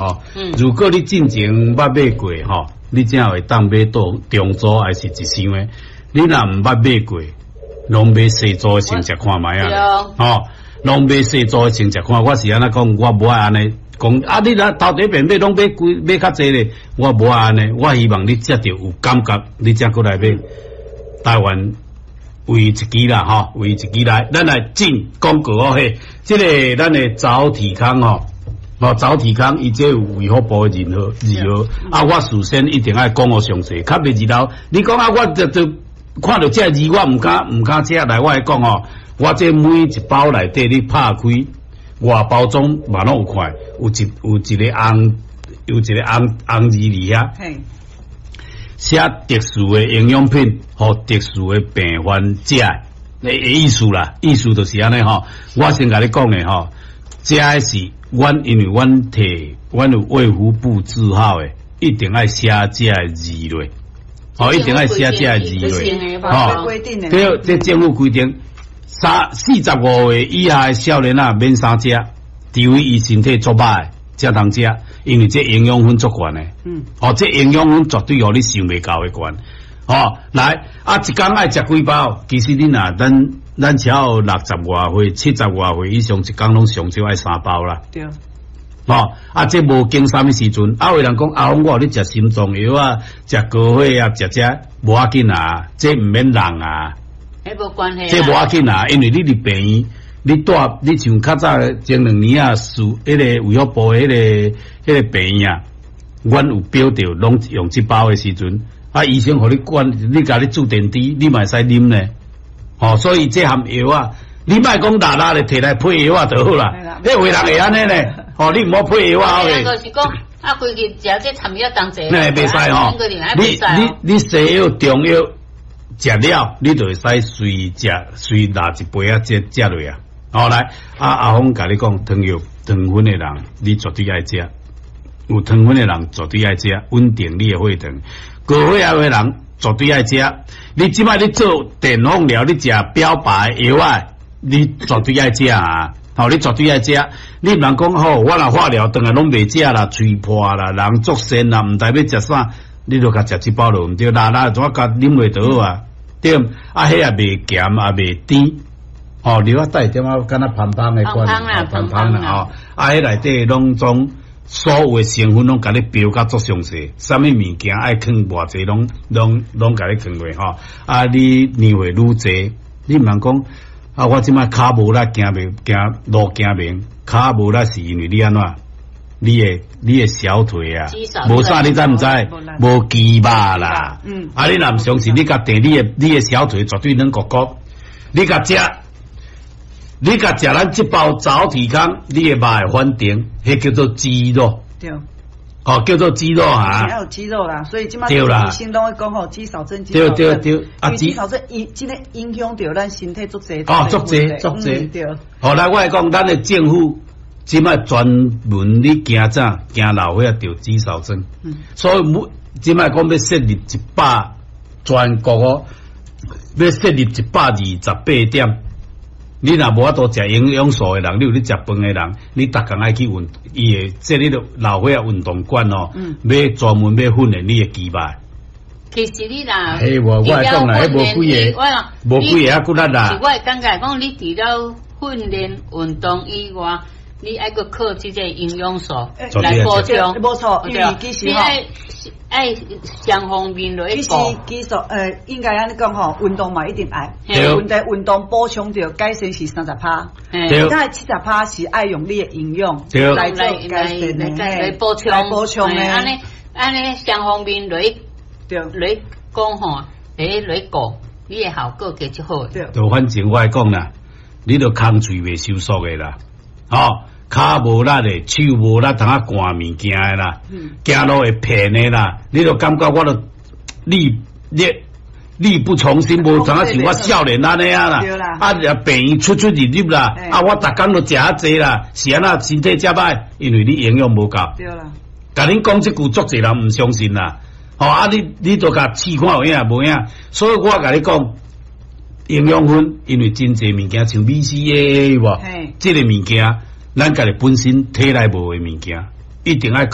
吼。如果你進前捌買過吼，你才會當買到中組還是一箱的。你若毋捌買過，攏買細組的先食看覓啊！吼，攏買細組的先食看。我是按呢講，我無愛按呢講。啊，你若頭第一遍買攏買貴買較濟咧，我無愛按呢。我希望你食著有感覺，你才閣來買。台灣唯一支啦，吼，唯一支來，咱來進廣告哦嘿。這个咱的早體康吼，哦早體康，伊這有衛福部的認可認可。啊，我事先一定愛講予詳細，較袂日後你講啊，我就就看著這字，我毋敢食來，我會講哦，我這每一包內底你拍開外包裝嘛攏有看，有一個紅有一個紅紅字佇遐。寫特殊的營養品，予特殊的病患食的意思啦，意思就是按呢吼。我先共你講的吼，這个是阮因為阮提阮有衛福部字號的，一定愛寫這个字落，吼，一定愛寫這个字落，吼。對，這政府規定，45歲以下的少年仔免啥食，除非伊身體足歹，才通食，因為這營養分足懸的。哦，這營養分絕對予你想袂到的懸。吼，來啊，一工愛食幾包？其實你若咱只要60外歲、70外歲以上，一工攏上少愛三包啦。對。吼，啊，這無經啥物時陣，啊，有人講阿峰，我予你食心臟藥啊，食高血壓，食這無要緊啊，這毋免人啊。彼無關係。這無要緊啊，因為你佇病院，你蹛你像較早前2年啊，屬彼个衛福部彼个病院啊，阮有標著攏用這包的時陣，啊，醫生予你管，你共你注點滴，你嘛會使啉呢。吼，所以這項藥啊，你莫講抐抐咧提來配藥啊就好啦。彼有的人會按呢呢，吼，你毋好配藥啊。就是講，啊，規日食這參藥當濟。那袂使吼，你西藥中藥食了，你就會使隨食隨拿一杯仔這食落啊。好來，啊阿峰共你講，糖尿糖分的人，你絕對愛食。有糖分的人絕對愛食，穩定你的血糖。高血壓的人絕對愛食。你這擺你做電放療，你食標靶藥啊，你絕對愛食啊！吼，你絕對愛食。你毋通講吼，我若化療轉來攏袂食啦，喙破啦，人足癬啦，毋知欲食啥，你就共食這包就毋對，啦啦怎共啉落就好啊？對，啊，彼也袂鹹，也袂甜。吼，你我帶點仔敢若芳芳的款，芳芳啦吼，啊，彼內底攏總所有的成分攏共你標甲足詳細，啥物物件愛囥偌濟，攏共你囥過吼。啊，你年歲愈濟，你毋通講啊，我這擺跤無力，行袂行路行袂，跤無力是因為你按怎？你的小腿啊，無啥，你知毋知？無肌肉啦。啊，你若毋相信，你共綴你的小腿絕對軟骨骨，你共食。你共食咱這包早體康，你的肉會反彈，彼叫做肌肉。對。哦，叫做肌肉哈。要有肌肉啦，所以這擺醫生攏會講吼，肌少症。對對對，啊，肌少症影這个影響著咱身體足濟。哦，足濟足濟。對。好來，我來講，咱的政府這擺專門咧驚啥？驚老歲仔著肌少症。所以每這擺講欲設立100全國哦，欲設立128點。你若無法度食營養素的人，你有咧食飯的人，你逐工愛去運，伊會設立老歲仔運動館哦，欲專門欲訓練你的肌肉。其實你若，彼無我會講啦，彼無幾个，無幾个啊骨力啦。是我會感覺講，你除了訓練運動以外，你愛閣靠這個營養素來補充。無錯，因為其實吼，愛雙方面來其實其實應該按呢講吼，運動嘛一定愛。問題運動補充著改善是30趴，其他70趴是愛用你的營養來做改善的，來補充來補充的。按呢按呢雙方面來來講吼，來顧，你的效果會較好。就反正我講啦，你著空喙袂收縮的啦，吼。跤無力的，手無力，通仔摜物件的啦，行路會騙的啦，你著感覺我著力力力不從心，無知影像我少年按呢啊啦，啊，病院出出入入啦，啊，我逐工都食遐濟啦，是按怎身體遮歹？因為你營養無夠。對啦。共恁講這句，足濟人毋相信啦。吼啊，你都共試看有影無影？所以我共你講，營養分，因為真濟物件像 BCAA 無，這个物件。咱家己本身體內無的物件，一定愛靠。